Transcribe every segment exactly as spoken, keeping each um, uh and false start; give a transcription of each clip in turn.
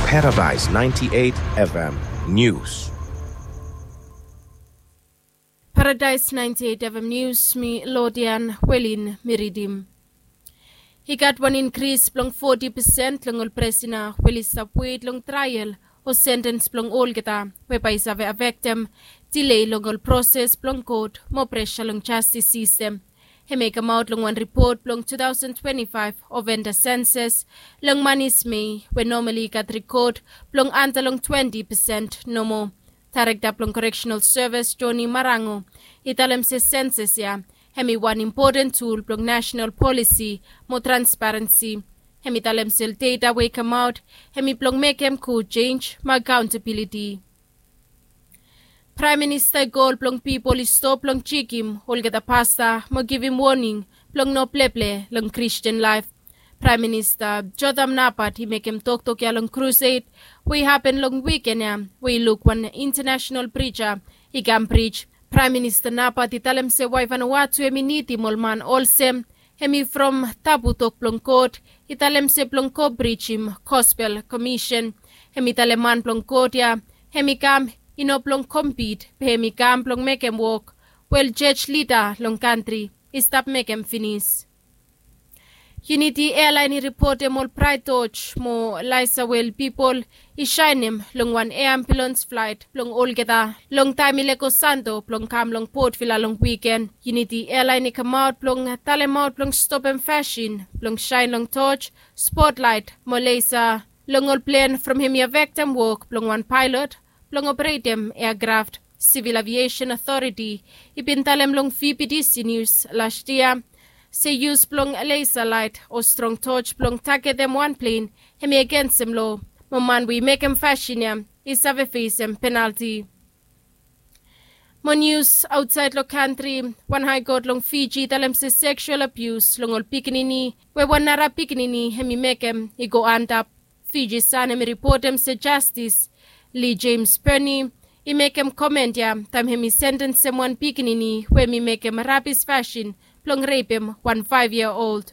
Paradise ninety-eight F M News. Paradise ninety-eight F M News, mi Lodian Welin mi ridim. I gat wan inkris blong foti pesen long ol prisona we oli stap wet long trael o sentens blong olgeta we bae i save afektem delei long ol proses blong kot mo presa long jastis sistem. Hemi kamaot long wan ripot blong two thousand twenty-five Ovenda Sensus long Manis Mei we nomali i gat rikot blong anda long twenti pesen nomo. Daerekta blong Koreksenal Sevis Joni Marango i talem se sensus ya hemi wan impoten tul blong nasenal polisi mo transparensi. Hemi talem se ol data we i kamaot hemi blong mekem gud jenj mo akaontabiliti. Praem Minista i kol blong pipol i stop blong jekem olgeta pasta mo givim woning blong no pleple long Kristin laef. Praem Minista Jotham Napat i mekem toktok ya long krused we i hapen long wiken ya we i luk wan intanasenal prija i kam prij. Praem Minista Napat i talem se wae Vanuatu hemi nidim ol man olsem hemi from tabu tok blong God i talem se blong go prijim gospel komisen. Hemi talem man blong God ya hemi kam i no blong kompit be hemi kam blong mekem wok we ol jos lida long kantri i stap mekem finis. Unity Airline i ripotem ol praet doj mo laesa we ol pipol i saenem long wan ea ambulans flaet blong olgeta long taem i lego Santo blong kam long Port Vila long wiken. Unity Airline i kamaot blong talemaot blong stopem fasin blong saen long doj, spotlaet mo laesa long ol plen from hemi afektem wok blong wan paelot blong operetem eakraft. Civil Aviation Authority i bin talem long V B T C News las yia se yus blong laesa laet o strong doj blong tagetem wan plen hemi agensem loa mo man we i mekem fasin ya i save fesem penalti. Mo nius aotsaed long kantri, wan haekot long Fiji i talem se seksual abius long ol pikinini we wan nara pikinini hemi mekem i go antap. Fiji San hemi ripotem se jastis Lee James Birney i mekem komen ya taem hemi sentensem wan pikinini we hemi mekem rabis fasin blong repem wan faef yia old.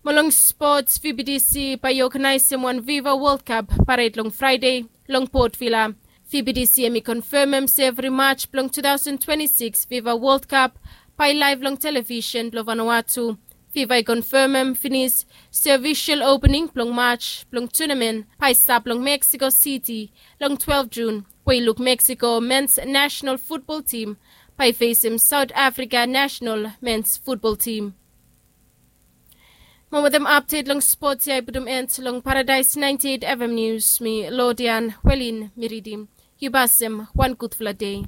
Mo long spots, V B T C bae i oganaesem wan Viva World Cup pared long Fraede long Port Vila. V B T C hemi konfemem se evri maj blong two thousand twenty-six Viva World Cup bae i laef long televisen blong Vanuatu. Viva i konfemem finis se ofisol opening blong maj blong tunamen bae i stap long Mexico City long twelve Jun we i luk Mexico mens nasenal futbol tim bae i fesem Saot Afrika nasenal mens futbol tim. Mo wetem apdet long spots ya i putum en long Paradise ninety-eight F M News, mi Lodian Welin mi ridim. Yu basem wan gudfala dei.